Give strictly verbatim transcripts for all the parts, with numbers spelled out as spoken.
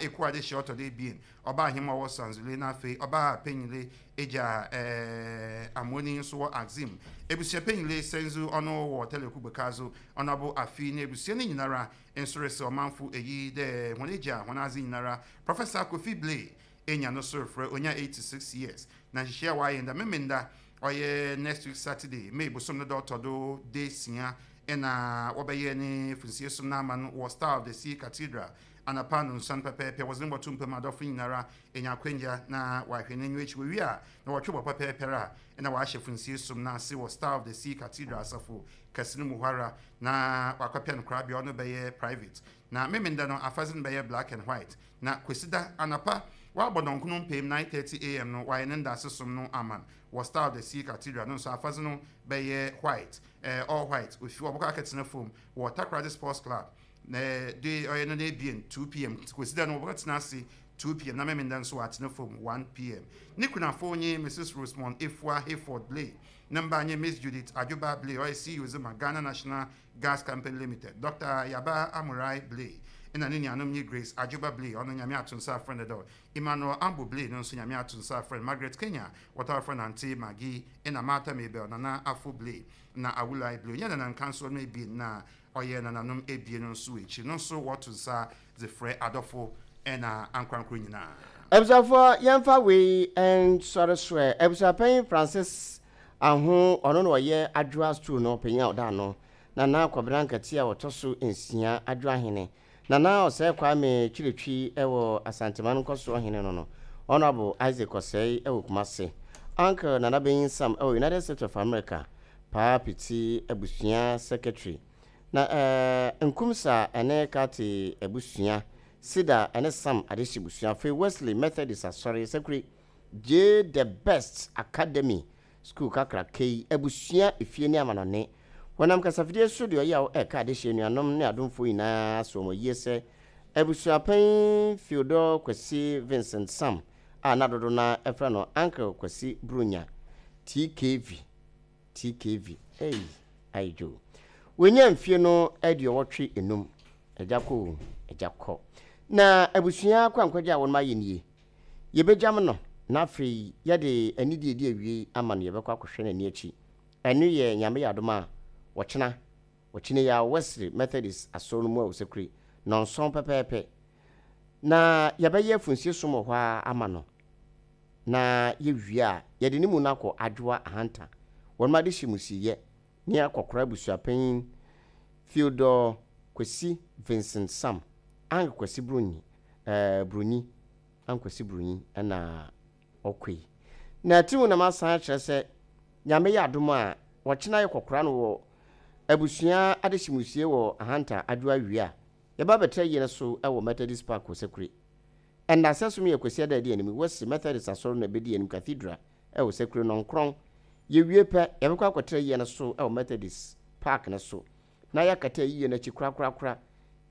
Ekuo adehyɛ ɔtɔ do ebien, ɔbaa ahema ɔwɔ Sanzule, na afei ɔbaa panyile egya ɛɛ Amoni nso wɔ Axim. Ebusua panyile Senzu ɔno wɔ Teleku Bekazo ɔnabo afi na ebusua no nyinara nso resɛ ɔmanfo eyi dɛ wɔn egya wɔn adze nyinara Professor Kofi Blay enya no so refrɛ onya eighty-six years. Na nhyehyɛ a wayɛ nda Memenda, ɔyɛ next week Saturday, May bosom no dɛ ɔtɔ do de sia, ɛna wɔbɛyɛ ne funsie som no ama no wɔ Star of the Sea Cathedral anapa no nsan pɛpɛɛpɛ. Wɔdze no bɔto mpam, adɔfo nyinara enya akwanya na wahwɛ n'enyiwa akyi. Wɔwie a na wɔtwe bɔ pɛpɛɛpɛ a ɛna wɔahyɛ funsie som no ase wɔ Star of the Sea Cathedral asafo kɛse no mu hɔ ara, na wakɔpɛ no korabea, ɔno bɛyɛ private. Na Memenda no afadze no bɛyɛ black and white. Na Kwesida anapa wabɔ dɔnkono mpem nine thirty a m no, wayɛ ne ndase som no ama wɔ Star of the Sea Cathedral no nso, afadze no bɛyɛ white, eh, all white. Ofi wɔbɛkɔ akɛtena fam wɔ Takoradi Sports Club na de ɔyɛ no n'ebien two p m. Kwesida no wɔbɛkɔ ase two p m, na Memenda nso wɔatena fam one p m. Ne kunafo nye Missus Rosemond Efua Hayford Blay, ne mba nye Miss Judith Adwoba Blay, ɔyɛ C E O Zima Ghana National Gas Company Limited, Doctor Yaba Amurai Blay, ɛna ne nuanom nye Grace Adwoba Blay, ɔno Nyame ato nsa afrɛ no dɛ Emmanuel Ambo Blay no nso Nyame ato nsa afrɛ no, Margaret Kenya, wɔtaa frɛ no Auntie Maggie, ɛna Martha Mabel Nana Afo Blay na Awulai Blay onyɛ nananka nso no ebien na ɔyɛ nananom ebien no nso akyi no nso wɔto nsa dze frɛ adɔfo ɛna ankorankoro nyinaa. Abusuafoɔ, yɛmfa wei nsɔre soɛ. Abusuapanyin Francis Aho, ɔno na ɔyɛ Adwoa Stool no panyin a ɔda ano. Nana Kwabena Nkɛte a wɔtɔ so nsia, Adwoa hene Nana Ɔsɛe Kwame Kyiretwi wɔ Asanteman nkɔsoɔ hene no no Honorable Isaac Ɔsɛe wɔ Kumase, Uncle Nana Benyin Sam wɔ United States of America, Paa Piti abusua secretary, na ɛɛ Nkumsa ɛne Kate abusua, Sida ɛne Sam Adehye busua. Afei Wesley Methodist Asɔre Sakuri J The Best Academy School kakraka yi abusua efie ne amanɔne wɔnam kasafidie so deɛ ɔyɛ a ɛka adehye anuanom ne adomfoɔ nyinaa so wɔn yie sɛ abusuapanyin Theodore Kwasi Vincent Sam a na dodo na ɛfrɛ no Uncle Kwasi Brunya T K V T K V ei ayidwo wɔnya mfie no aduɔwɔtwe enum. Agya kɔ o, agya kɔ. Na abusua akwankwagye a wɔn ayɛ nie, yɛbɛgyam no na afei yɛde anidie di awie ama no. Yɛbɛkɔ akɔhwɛ n'ani akyi. Ɛno yɛ Nyame yɛ adom a wɔkyena wɔkyena yi a Wesley Methodist Asɔre no mu a wɔsɛkure nɔnson pɛpɛɛpɛ na yɛbɛyɛ afunsie som wɔ hɔ a ama no. Na yɛwie a yɛde ne mu no akɔ Adwoa Ahanta wɔn ade hyɛ musiyɛ ne akɔkora abusuapanyin Theodore Kwasi Vincent Sam, Uncle Kwasi Broni, ɛɛ Broni, Uncle Kwasi Broni ɛna ɔkɔ yi. Na ti mu na masan akyerɛ sɛ Nyame yɛ adom a wɔkyena yɛ kɔkora no wɔ abusua adehyemusie wɔ Ahanta Adwoa wie a, yɛba bɛtɛ yie no so ɛwɔ Methodist Park wɔ Sakure. Ɛnna sɛ som yɛ Kwasi ada adi anim Wɔsi Methodist Asɔre no ɛbɛdi anim Cathedral ɛwɔ Sakure nɔnkorɔn. Yɛwie pɛ, yɛbɛkɔ akɔtɛ yie no so ɛwɔ Methodist Park no so na yɛakata yie no akyi korakorakora.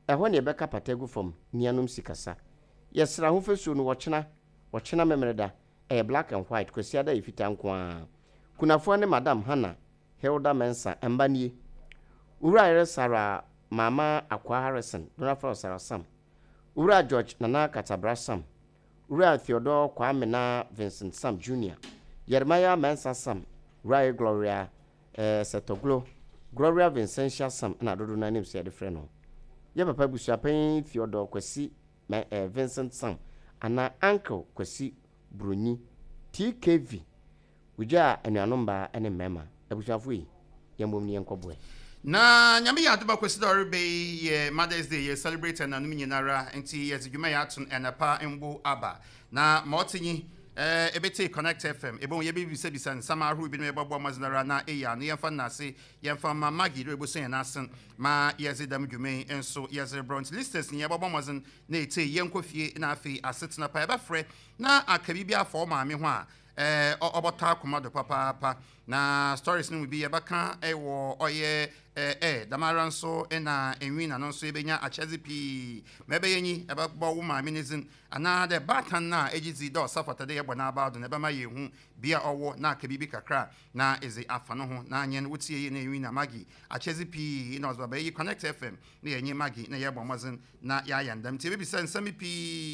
Ɛhɔ ne yɛbɛka pata gu fam nuanom si kasa. Yɛsrɛ ahofasuo no wɔkyena wɔkyena Memereda ɛyɛ black and white, Kwasiada yɛ fitaa nko ara. Kunafoɔ ne Madam Hannah Hilda Mensa. Mba nie: Owura yere Sarah Mama Akwa Harrison, Donafra Sarah Sam, Owura George Nana Katabra Sam, Owura Theodore Kwame na Vincent Sam Junior, Jeremiah Mensa Sam, owura yere Gloria eh, Setoglo, Gloria Vincentia Sam na dodo no anim sɛ yɛde frɛ no. Yɛ papa abusuapanyin Theodore Kwasi eh, Vincent Sam anaa Uncle Kwasi Broni T K V wogya anuanom baa ne mmarima. Abusuafo yi, yɛmmom ne yɛnkɔboɛ. Na Nyame yɛ adom a Kwasi dɛ ɔreba yi yɛ Mother's Day, yɛ celebrate ɛnanom nyinara, nti yɛdze dwuma yɛ ato no ɛnapa mbo aba na ma ɔte nyi ɛɛ ebete Connect F M ebohu yɛbɛbisabisa nsɛm ahorow binom, yɛbɛboa mmɔdzen na ɛyɛ ano. Yɛmfa nnase yɛmfa ma Maggie dɛ ɛbɛsua yɛn asen ma yɛdze dɛm dwuma yi nso yɛdze rebrɔ. Nti listeners ni yɛbɛbɔ mmɔdzen na ɛtie yɛnkɔ fie na afei asetena pa yɛbɛfrɛ na aka biribi afa wo maame ho a. ɛɛ ɔbɔtɔ akoma do papaapa. Na stories no mu bi yɛbɛka ɛwɔ ɔyɛ ɛɛ ɛ damara nso, ɛna enwi na no nso yɛbɛnya akyɛdze pii ma ɛbɛyɛ nyi. Ɛbɛbɔ wo maame ne dzin anaa dɛ baatan na egye dzi dɛ ɔsa fata dɛ yɛbɔ n'aba do na ɛbɛma yɛn hu bea ɔwɔ na aka biribi kakra na ɛdze afa no ho na anyɛ no. Wotie yi na enwi na Maggie akyɛdze pii na ɔdze baba yi Connect F M na yɛnye Maggie na yɛbɔ mmɔdzen na yɛayɛ ndɛm, nti yɛbɛbisa nsɛm pii.